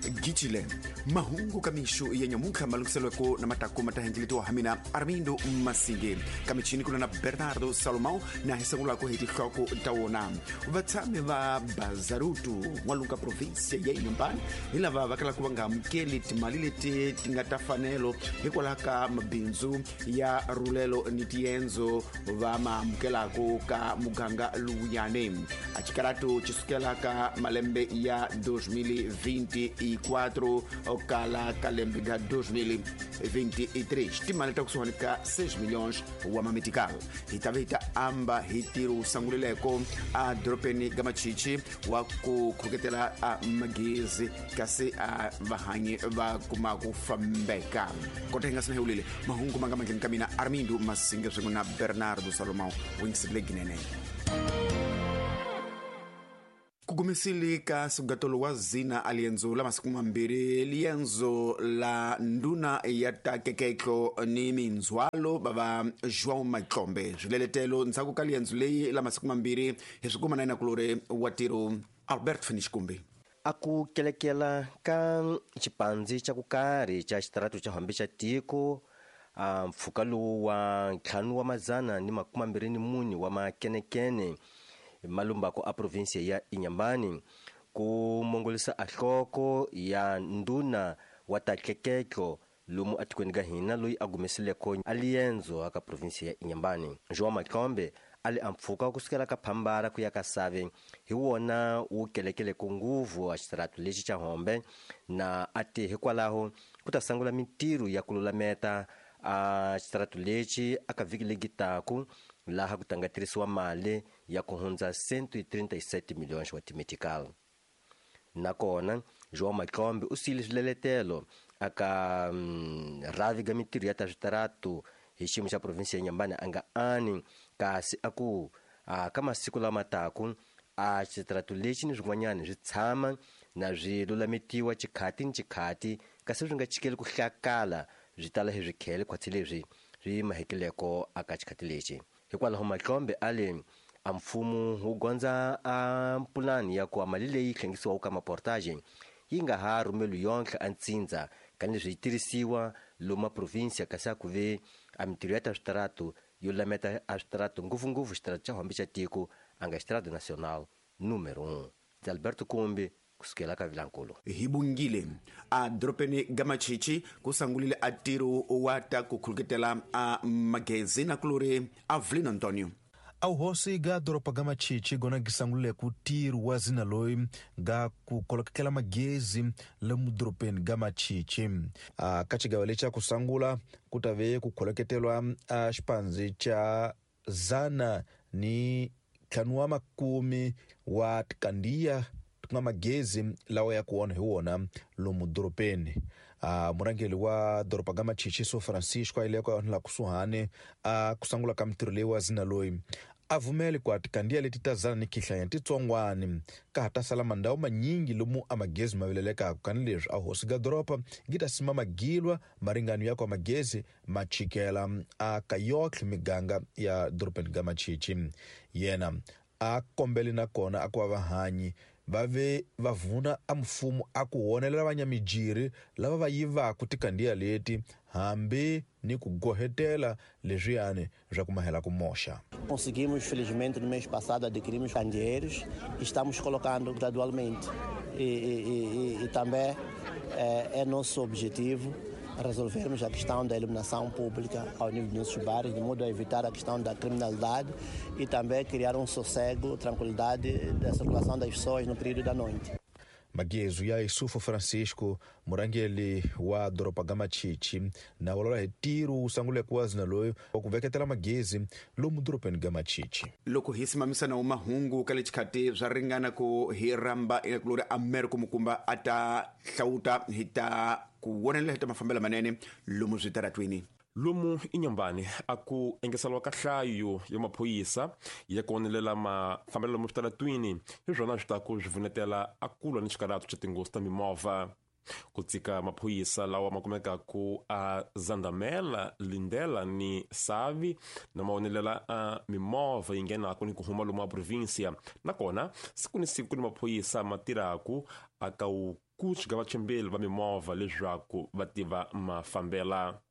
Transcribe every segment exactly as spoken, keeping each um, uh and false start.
Gicile mahungu kamixo ya nyamuntlha malunghiselweko na matako ma ta hengeletiwa ha mina Armindo Masinge kamichini kuna na Bernardo Salomão na hi sungulako hi tinhloko ta wona. Vatshami va Bazarutu n'walungu ka provinsia ya Inhambane hi lava va kalaka va nga amukeli timali leti ti nga ta fanelo hikwalaho ka mabindzu ya rulelo ni tiendzo va ma amukelaka ka muganga lowuyani. A xikaratu xi sukela ka malembe ya dois mil vinte e quatro kala ka lembe ga dois mil vinte e três timali ta kusuhani ka seis milhões wa mametical. Hi ta ve hi ta amba hi ntirho wu sangulileko a doropeni ga Machichi wa ku khuketela a magezi kasi a vahanyi va kuma ku fambeka. Kota hi nga sina hi wulile mahungu ma nga mandleni ka mina Armindo Masinge swin'we na Bernardo Salomão wingisile ginene. Kugumisile ka sugatolo wa zina alienzo la masiku mambirhi lienzo la nduna ya ta keketlo ni mindzhwalo bava João Matlombe. Swileletelo ndzhaku ka lienzo leyi la masiku mambirhi hi swi kuma na yena kulori wa tiro Albert Finish Kumbi. A ku kelekela ka xipandzi xa ku karhi xa xitaratu xa hambi xa tiko a mpfhuka lowu wa ntlhanu wa mazana ni makume mambirhi ni mune wa makenekene malumbako a provinsia ya Inhambane ku mongolisa a nhloko ya nduna wa ta tleketlo lomu atikweni ka hina loyi a gumesileko a liendzo aka provinsia ya Inhambane. João Matlombe a li a mpfhuka kusukela ka Phambara ku ya ka Save hi wona wu kelekeleko nguvu a xitaratu lexi xa Hombe na a ti hikwalaho ku ta sungula mintirho ya ku lulameta a xitaratu lexi aka vhiki legi taku laha ku tanga tirhisiwa mali ya ku hundza cento e trinta e sete milhões wa timetical. Nakona João Matlombe u siyile swileletelo aka mm, rhavi ga mintirho ya ta switaratu hi xiyimo xa provinsia ya Inhambane a nga ani kasi a ku a ka masiku lama taku a xitaratu lexi ni swin'wanyana swi tshama na swi lulametiwa xikhati ni xikhati kasi swi nga chikeli ku hlakala swi tala hi swikhele khwatsi leswi swi mahekeleko aka xikhati lexi. Hikwalaho Matlombe a le a mfumo wu gondza a pulani ya ku a mali leyi hlengisiwaka ka maportage yi nga ha rhumeli yonke a ntsindza kanileswi yi tirhisiwa lomu provinsia kasi a ku ve a mintirho ya ta switaratu yo lameta a switaratu ngopfungopfu xitaratu xa Hombe xa tiko a nga xitaratu nacional número um. Ndzi Alberto Kumbi kusukela ka Vilankulu. Hi bungile a doropeni ga Machichi ku sangulile a ntirho wa ta ku khuluketela a magezi na kulori Avelino Antonio. A hosi ga doropa ga Machichi gona gisangulile ku ntirho wa zina loyi ga ku kolokekela magezi le mudoropeni ga Machichi. A ka xigava lexi xa ku sungula ku ta ve ku kholoketelwa a xipandzi xa zana ni ntlhanu wa makume wa tikandiya ku nga magezi lawa ya ku onha hi wona lomu doropeni. A murhangeri wa doroba ga Machichi So Francisco a yile ka la kusuhani a ku sungula ka mintirho leyi wa zina loyi a vumeli ku a tikandiya leti ta zana ni khihlanya titsongwani ka ha ta sala mandhawu manyingi lomu a magezi ma vilelekaka kanileswi a hosi ga doroba gi ta sima magilwa maringano ya ku a magezi ma chikela a ka yotlhe miganga ya doropeni ga Machichi. Yena a kombeli nakona a ku va vahanyi va ve va vuna a mfumo a ku honelela vanyamijiri lava va yivaka tikandiya leti hambi ni ku gohetela leswiyani swa ku mahela ku moxa. Conseguimos, felizmente, no mês passado adquirimos candeeiros e estamos colocando gradualmente. E, e, e, e também é, é nosso objetivo resolvermos a questão da iluminação pública ao nível dos nossos bairros, de modo a evitar a questão da criminalidade e também criar um sossego, tranquilidade da circulação das pessoas no período da noite. Magezu ya Isufo Francisco murhangeri wa doroba ga Machichi na vulavula hi ntirho wu sunguleke wa zina loyi wa ku veketela magezi lomu doropeni ga Machichi. Loko hi simamisana mahungu ka le xikhati swa ringana ku hi rhamba kulori Americo Mukumba a ta hlawuta hi ta ku vonelela hi ta mafambelo manene lomu switaratwini. Lomu Inhambane a ku engeseriwa ka nhlayo ya maphorisa ya ku onelela mafambelo lomu switaratwini hi swona swi ta ku swi vunetela a ku lwa ni xikaratu xa tinghozi ta mimovha. Ku tsika maphorisa lawa ma kumekaku a Zandamela, Lindela ni Savi na ma onelela a mimovha yi nghenaku ni ku huma lomu a provinsia. Nakona siku ni siku ni maphorisa ma tirhaku a ka wu ku xika vachimbeli va mimovha leswaku va tiva mafambela.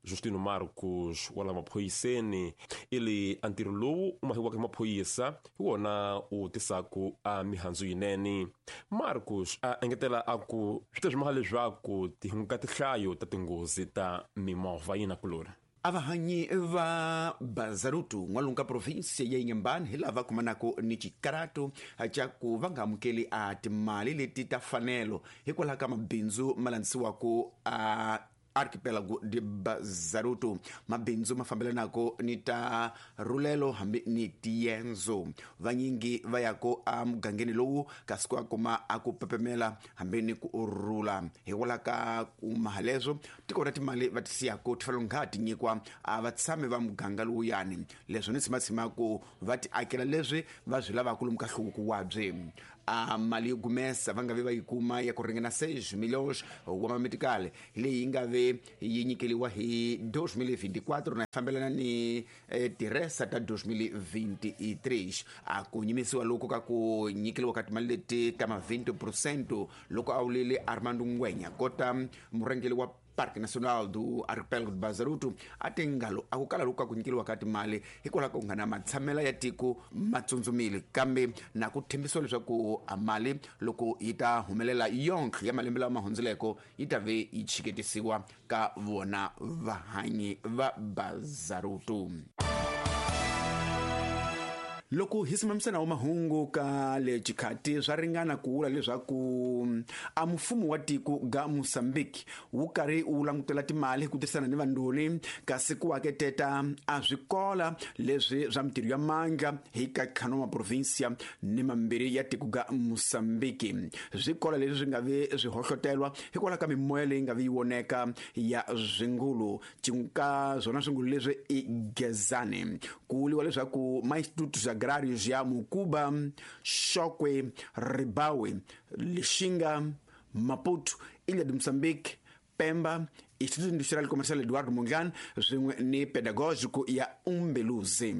Justino Marcos wa la maphoyiseni ili a ntirho lowu u mahiwaka hi maphorisa hi wona u tisaku a mihandzu yinene. Marcos a engetela a ku swi ta swi maha leswaku ti hunguta tinhlayo ta tinghozi ta mimovha yina kulori. Avahanyi va Bazarutu n'walungu ka provinsia ya Inhambane hi lava kumanako ni xikarato xa ku va nga amukeli a timali leti ta fanelo hikwalaho ka mabindzu ma landzisiwaka a Archipelago de Bazaruto. Mabindzu ma fambelanako ni ta rulelo hambi ni tiendzo. Vanyingi va yako a mugangeni lowu kasi ku kuma a ku pepemela hambi ni ku rula. Hikwalaho ka ku mahaleswo tiko ra timali va ti siyako ti fanele nga ti nyikwa a vatshami va muganga lowuyani. Leswo ni tshimatsima ku va ti akela leswi va swi lavaka lomu ka nhluvuko wa byi. A mali yo gumesa va nga vi va yi kuma ya ku ringana seis milhões wa mametikale leyi nga ve yi nyikeliwa hi dois mil e vinte e quatro na fambelana ni eh, tiresa ta dois mil e vinte e três. A ku nyimisiwa loko ka ku nyikeliwa ka timali leti ta ma vinte por cento loko a wulile Armando Ngwenya kota murhangeri wa Parque Nacional do Arquipélago de Bazaruto a tingalo a ku kala loko ku nyikeliwa ka timali hikwalaho ka ku nga na matshamela ya tiko matsundzumile kambe na ku tshembisiwa leswaku a mali loko yi ta humelela yonke ya malembe lama hundzileko yi ta ve yi chiketisiwa ka vona vahanyi va Bazaruto. Loko hi simamisana wa mahungu ka le xikhati swa ringana ku vula leswaku a mfumo wa tiko ga Mozambique wu karhi wu langutela timali ku tirhisana ni vandoni kasi ku aketeta a swikola leswi swa mitirho ya mandla hi ka ntlhanu wa provinsia ni mambirhi ya tiko ga Mozambique. Swikola leswi swi nga vi swi hohlotelwa hikwalaho ka mimoya leyi nga vi yi voneka ya swingulu ka swona swingulu leswi i Gezani. Ku vuriwa leswaku ma-institutos agrários ya Mukuba, Chokwe, Ribawe, Lixinga, Maputo, Ilha de Moçambique, Pemba, Instituto Industrial Comercial Eduardo Mondlane swin'we ni Pedagógico ya Umbeluzi.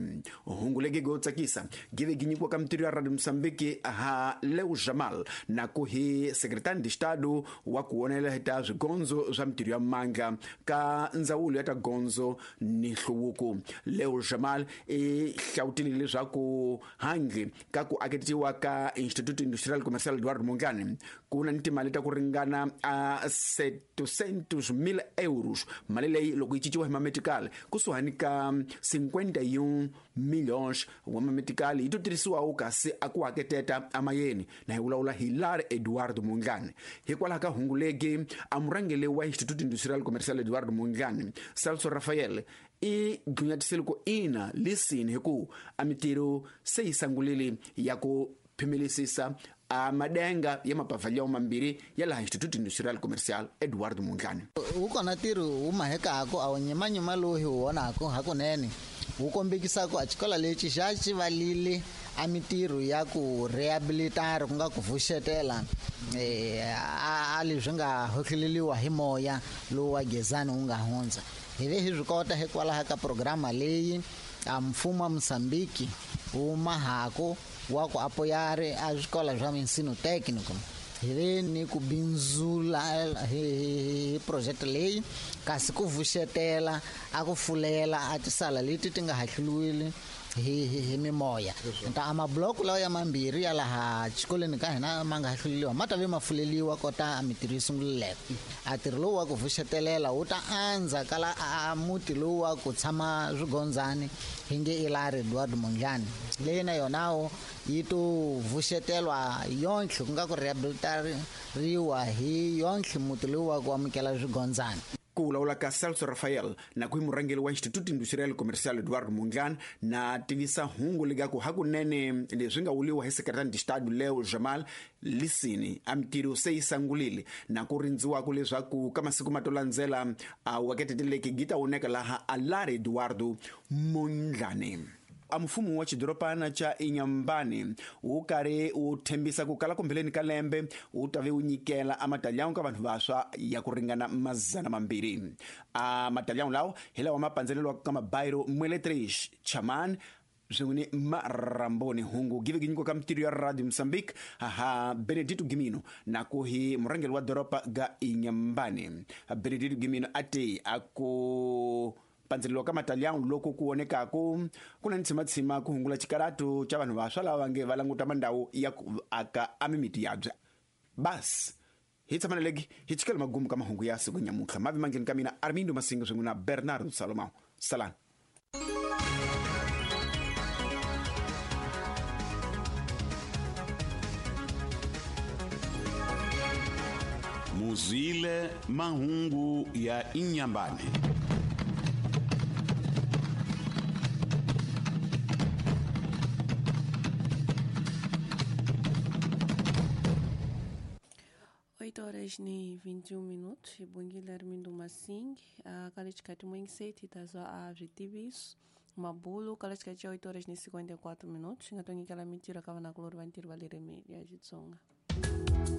Hungu legi go tsakisa give gi nyikiwa ka mitirho ya Radio Moçambique ha Leo Jamal na ku hi Secretario de Estado wa ku vonela hi ta swigondzo swa mitirho ya mandla ka ndzawulo ya ta gondzo ni nhluvuko. Leo Jamal i hlawutile leswaku handle ka ku aketiwa ka Instituto Industrial Comercial Eduardo Mondlane ku na ni timali ta ku ringana a setecentos mil euros mali leyi loko yi cinciwa hi mametikali kusuhani ka cinquenta e um milhões wa mametikali yi to tirhisiwawo kasi a ku haketeta amayeni na hi vulavula hi Lar Eduardo Mondlane. Hikwalaho ka hungu legi a murhangeri wa Instituto Industrial Comercial Eduardo Mondlane Celso Rafael i dlunyatisile ku ina lisini hi ku a mitirho se yi sangulile ya ku phimelisisa a madenga ya mapavhalyawo mambirhi ya laha Instituto Industrial Comercial Eduardo Mondlane. Wu kona ntirho wu mahekako a wu nyimanyima lowu hi wu vonako hakunene wu kombekisako a xikolo lexi xa xi valile a mitirho ya ku rehabilitara ku nga ku vuxetela a leswi nga hohleleliwa hi moya lowu wa Gezani wu nga hundza. Hi ve hi swi kota hikwalaho ka programa leyi a mfumo wa Mozambique wu mahako wa ku apoiar a escola swa ensino técnico. Hi ve ni ku bindzula hi project leyi kasi ku vuxetela a ku fulela a tisala leti ti nga hahluriwile hi hi mimoya. Ta a mabloko lawa ya mambirhi ya laha xikolweni ka hina ma nga hahluriwa ma ta ve ma fuleliwa kota a mitirho yi sungulileko. A ntirho lowu wa ku vuxetelela wu ta andza kala a muti lowu wa ku tshama swigondzani hi nge i Lar Eduardo Mondlane leyi na yonawo yi to vuxetelwa yonke ku nga ku rehabilitariwa hi yonke muti lowu wa ku amukela swigondzani. Ku vulavula ka Celso Rafael na ku hi murhangeri wa Instituto Industrial Comercial Eduardo Mondlane na tivisa hungu lekaku hakunene leswi nga vuliwa hi Secretario de Estado Leo Jamal lisini a mitirho se yi sangulile na ku rindziwaka leswaku ka masiku ma to landzela a waketeteleki gi ta voneka laha a Lar Eduardo Mondlane. A mfumo wa xidorobana xa Inhambane wu karhi wu tshembisa ku kala kumbeleni ka lembe wu ta ve wu nyikela a matalyawu ka vanhu vantshwa ya ku ringana mazana mambirhi. A matalyawu lawa hi lawa ma pandzeleliwaka ka mabayiro Mwele três, Chaman, Swin'we ni Maramboni. Hungu give ginyiko ka mitirho ya Radio Mozambique haha Benedito Gimino na ku hi murhangeri wa doroba ga Inhambane. Benedito Gimino a te a ku pandzeriwa ka mataliyani loko ku vonekaku ku na ntshimatshima ku hungula xikaratu xa vanhu vantshwa lava nge va languta mandhawu ya ku aka a mimiti yabya. Bas hi tshamaneleki hi chikela magumu ka mahungu ya siku nyamuntlha mavi mangheni ka mina Armindo Masinga swin'we na Bernardo Salomão. Salani. Muzile mahungu ya Inhambane. oito horas e vinte e um minutos, Bongile Armindo Massing, a Kalichikati Mwengiseti, tazwa a Vitibiso, Mabulo, Kalichikati oito horas e cinquenta e quatro minutos, ngatongi kala mitira kava na kulori vantiri valireme ya Xitsonga.